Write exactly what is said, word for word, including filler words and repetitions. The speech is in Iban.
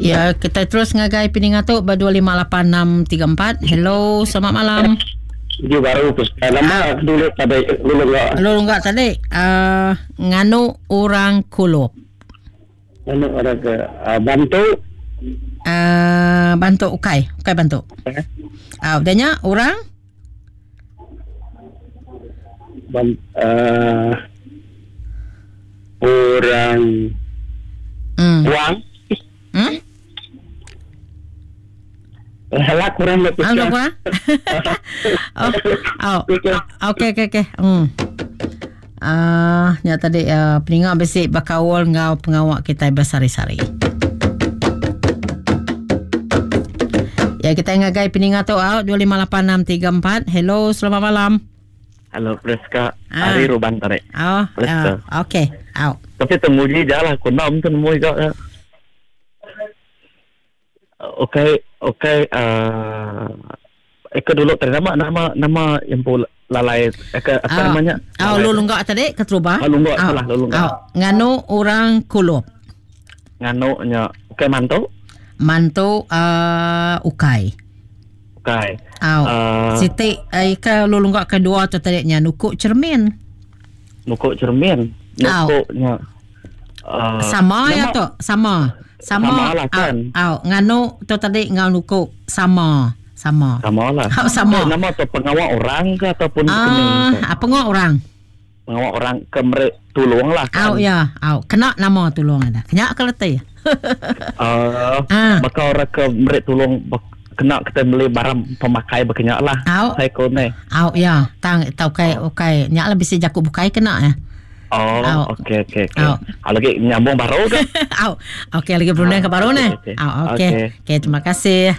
Ya, kita terus ngagai peninga tu ba dua lima lapan enam tiga empat. Hello, selamat malam. Dia baru ke nama dulu tadi dulu enggak. Dulu enggak tadi uh, nganu orang kulup. Nganu orang ke uh, bantu. Uh, bantu ukai, ukai bantu. Eh? Ah, uh, udahnya orang Ban, uh, orang mm. Wang. Hmm? Lah kurang lebih. Ah, kurang. Oh, oh. Okey okey okey. Hmm. Ah, uh, nya tadi uh, peninga bisi bakaul ngau pengawak kita bersari-sari. Ya, kita ngagai peninga tu out dua lima lapan enam tiga empat. Hello, selamat malam. Halo Priska, ah. Ari Ruban tarik. Oh, uh, okey. Out. Tapi temuji jalah aku nak temu juga. Okey, okey. Uh, Eka dulu tadi nama nama nama yang pun lalai Eka apa oh. namanya? Oh, lu lunggak tadi keterubah. Oh, lunggak salah, lu lunggak. Oh, nganu orang kulup. Nganu nya. Okey, mantu. Mantu uh, ukai. Ukai. Oh. Uh, Siti Eka lu lunggak kedua tu tadi nya nukuk cermin. Nukuk cermin. Nukuknya. Uh, sama ya tu, sama. Sama, sama lah kan. Au, nganu tu tadi ngau nukuk sama. Sama. Sama lah. Oh, sama. Eh, nama tu pengawal orang ke ataupun ah, pengawal orang. Pengawal orang ke merek tolong lah kan. Au ya, au. Kena nama tolong ada. Kena ke letih. Uh, ah. Bakal orang ke merek tolong kena kita beli barang pemakai berkenyak lah. Au. Saya kau ni. Au ya, tang tau kai okay. Nyak lah bisa jakuk bukai kena ya. Oh, okey okey okey. Kalau lagi nyambung baru ke? Au. Okey, lagi berunding ke baru ni. Au, okey. Okey, terima kasih.